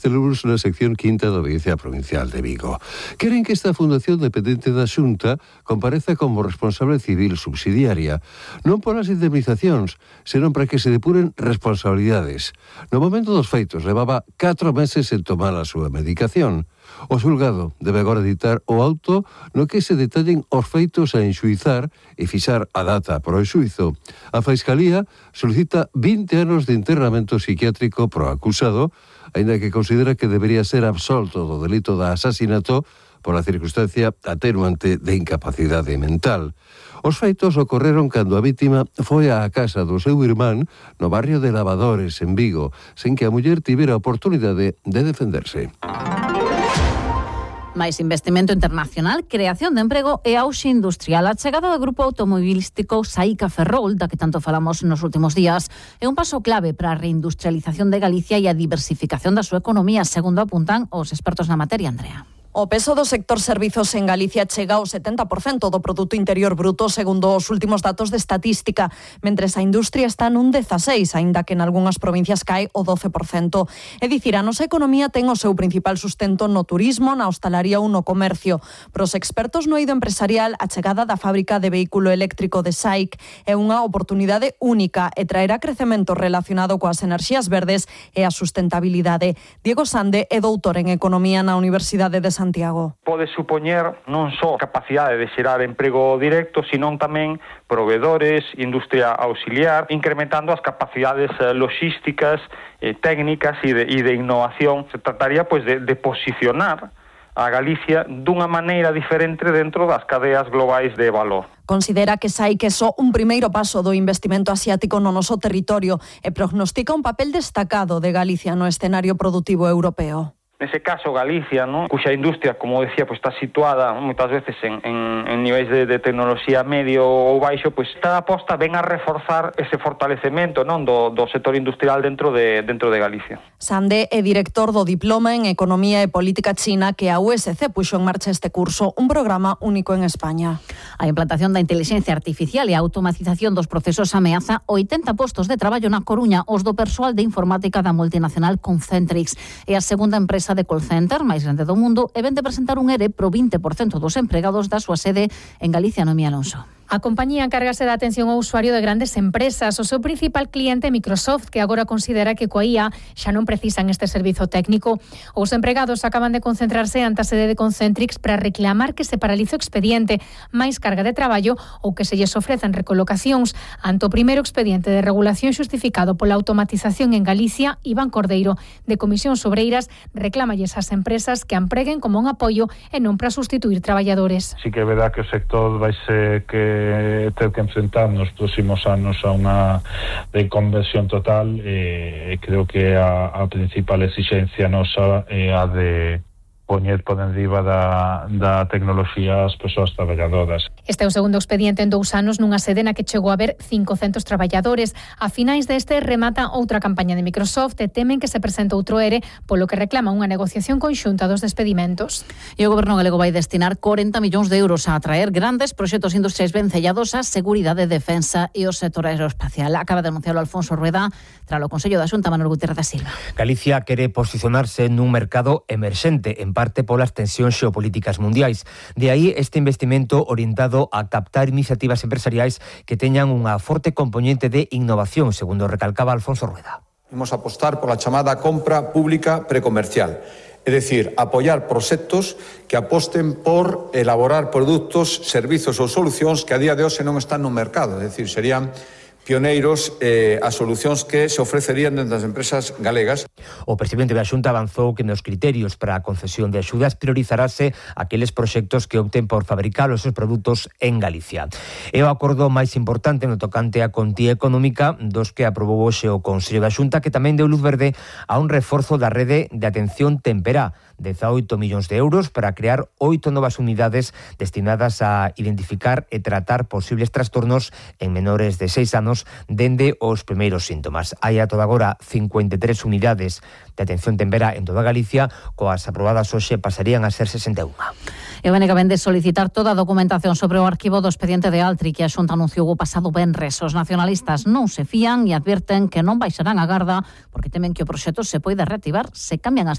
este lunes na sección quinta da Audiencia Provincial de Vigo. Queren que esta fundación dependente da Xunta compareza como responsable civil subsidiaria, non polas indemnizacións, senón para que se depuren responsabilidades. No momento dos feitos levaba 4 meses en tomar a súa medicación. O xulgado debe agora editar o auto no que se detallen os feitos a enxuizar e fixar a data para o xuizo. A Fiscalía solicita 20 anos de internamento psiquiátrico pro acusado, aínda que considera que debería ser absolto do delito de asasinato pola circunstancia atenuante de incapacidade mental. Os feitos ocorreron cando a vítima foi á casa do seu irmán no barrio de Lavadores, en Vigo, sen que a muller tivera a oportunidade de defenderse. Máis investimento internacional, creación de emprego e auxe industrial. A chegada do grupo automobilístico Saica Ferrol, da que tanto falamos nos últimos días, é un paso clave para a reindustrialización de Galicia e a diversificación da súa economía, segundo apuntan os expertos na materia, Andrea. O peso do sector servizos en Galicia chega ao 70% do Produto Interior Bruto, segundo os últimos datos de estatística, mentres a industria está nun 16%, aínda que en algunhas provincias cae o 12%. É dicir, a nosa economía ten o seu principal sustento no turismo, na hostalaría ou no comercio. Para os expertos no eido empresarial, a chegada da fábrica de vehículo eléctrico de SAIC é unha oportunidade única e traerá crecemento relacionado coas enerxías verdes e a sustentabilidade. Diego Sande é doutor en Economía na Universidade de Santiago. Pode supoñer non só capacidade de xerar emprego directo, senón tamén proveedores, industria auxiliar, incrementando as capacidades logísticas, técnicas e de innovación. Se trataría de posicionar a Galicia dunha maneira diferente dentro das cadeas globais de valor. Considera que SAIC é só un primeiro paso do investimento asiático no noso territorio e prognostica un papel destacado de Galicia no escenario produtivo europeo. Nese caso, Galicia, cuxa industria, como decía, está situada moitas veces en niveis de tecnoloxía medio ou baixo, está aposta ben a reforzar ese fortalecemento do sector industrial dentro de Galicia. Sande é director do Diploma en Economía e Política China que a USC puxo en marcha este curso, un programa único en España. A implantación da inteligencia artificial e a automatización dos procesos ameaza 80 postos de traballo na Coruña, os do persoal de informática da multinacional Concentrix. É a segunda empresa de call center máis grande do mundo e ven de presentar un ERE pro 20% dos empregados da súa sede en Galicia, Noemí Alonso. A compañía encárgase da atención ao usuario de grandes empresas. O seu principal cliente é Microsoft, que agora considera que coa IA xa non precisan este servizo técnico. Os empregados acaban de concentrarse ante a sede de Concentrix para reclamar que se paralice o expediente, máis carga de traballo ou que se lles ofrezan recolocacións. Ante o primeiro expediente de regulación xustificado pola automatización en Galicia, Iván Cordeiro, de Comisións Obreiras, reclámalles ás empresas que empreguen como un apoio e non para sustituir traballadores. Sí que é verdad que o sector vaise que ter que enfrentar nos próximos anos a unha reconversión total e creo que a principal exigencia nosa é a de poñer por enriba da tecnoloxía as persoas traballadoras. Este é o segundo expediente en 2 anos nunha sede na que chegou a haber 500 traballadores. A finais deste remata outra campaña de Microsoft e temen que se presente outro ERE, polo que reclama unha negociación conxunta dos despedimentos. E o Goberno galego vai destinar 40 millóns de euros a atraer grandes proxectos industriais vencellados á seguridade, defensa e o sector aeroespacial. Acaba de anunciarlo Alfonso Rueda tras o Consello da Xunta, Manuel Gutiérrez da Silva. Galicia quere posicionarse nun mercado emerxente, en parte polas tensións xeopolíticas mundiais. De aí este investimento orientado a captar iniciativas empresariais que teñan unha forte componente de innovación, segundo recalcaba Alfonso Rueda. Imos apostar pola chamada compra pública precomercial, é dicir, apoiar proxectos que aposten por elaborar produtos, servizos ou solucións que a día de hoxe non están no mercado, é dicir, serían pioneiros as solucións que se ofrecerían dentro das empresas galegas. O presidente da Xunta avanzou que nos criterios para a concesión de axudas priorizarase aqueles proxectos que opten por fabricar os seus produtos en Galicia. É o acordo máis importante no tocante á contía económica dos que aprobou hoxe o Consello da Xunta, que tamén deu luz verde a un reforzo da rede de atención temperá, 18 millóns de euros para crear 8 novas unidades destinadas a identificar e tratar posibles trastornos en menores de 6 anos dende os primeiros síntomas. Hai a toda agora 53 unidades de atención temperá en toda Galicia, coas aprobadas hoxe pasarían a ser 61. E o BNG vende solicitar toda a documentación sobre o arquivo do expediente de Altri que a Xunta anunciou o pasado venres. Os nacionalistas non se fían e advirten que non baixarán a garda porque temen que o proxecto se poida reactivar se cambian as